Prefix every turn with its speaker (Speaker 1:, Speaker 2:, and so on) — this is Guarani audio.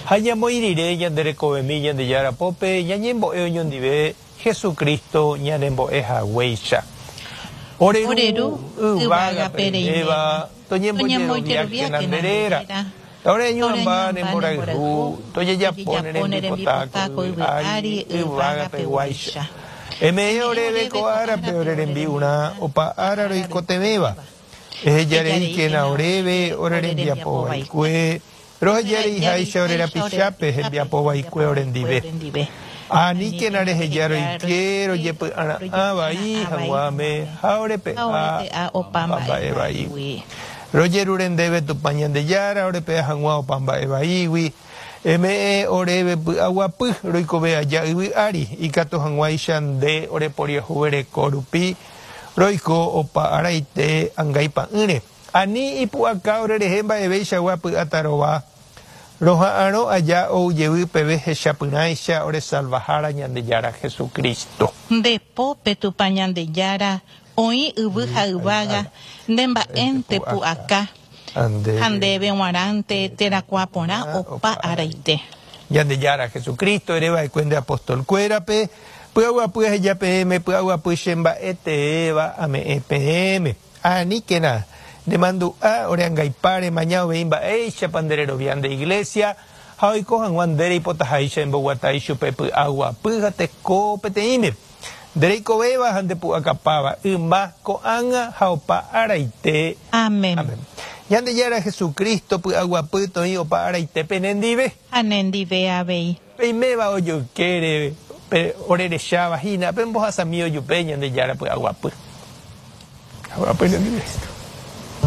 Speaker 1: Ha ñamoĩ rire ñande rekovemi Ñandejára pópe, ñañembo'e oñondive Jesucristo ñanembo'e haguéicha. Ore Ru yvágape reiméva, toñembojeroviákena nde réra. Oreñuamba ne mborayhu, tojejapo ne rembipota ko yvy ári yvágapeguáicha. Eme'ẽ oréve ko árape ore rembi'urã opa ára roikotevẽva. Eheja reíkena oréve ore rembiapo vaikue, roheja reiháicha ore rapichápe hembiapo vaikue orendive. Aníkena reheja roike rojepy'ara'ã vai hag̃uáme ha orepe'a opa mba'e vaígui. Rojerure ndéve Tupã Ñandejára orepe'a hag̃ua opa mba'e vaígui, eme'ẽ oréve py'aguapy roikove aja yvy ári, ikatu hag̃uáicha nde oreporiahuvereko rupi roiko opa araite angaipa'ỹre. Ani ipu'aka orerehe mba'evéichagua py'atarova, roha'arõ aja ou jevy peve hechapyrãicha ore Salvahára Ñandejára Jesucristo.
Speaker 2: Nde pópe Tupã Ñandejára Oĩ yvy ha yvága nde mba'énte pu'aka, ha ndéve g̃uarãnte terakuã porã opa araite.
Speaker 1: Ñandejára Jesucristo ere va'ekue nde apóstol kuérape, Py'aguapy aheja peẽme, py'aguapy che mba'e teéva ame'ẽ peẽme. Aníkena ne mandu'a ore angaipa remaña uvei mba'éichapa nde rerovia nde iglésia ha oiko hag̃ua nde reipotaháicha emboguata ichupe py'aguapy ha teko peteĩme. Nde reikovéva ha nde pu'akapáva, yma, ko'ág̃a ha opa araite.
Speaker 2: Amén.
Speaker 1: Amén. Ñandejára Jesucristo py'aguapy toĩ opa araite penendive.
Speaker 2: Ha nendive avei.
Speaker 1: Peiméva ojoykére, pe orerecháva hína, pembohasami ojupe Ñandejára py'aguapy. Py'aguapy nendive.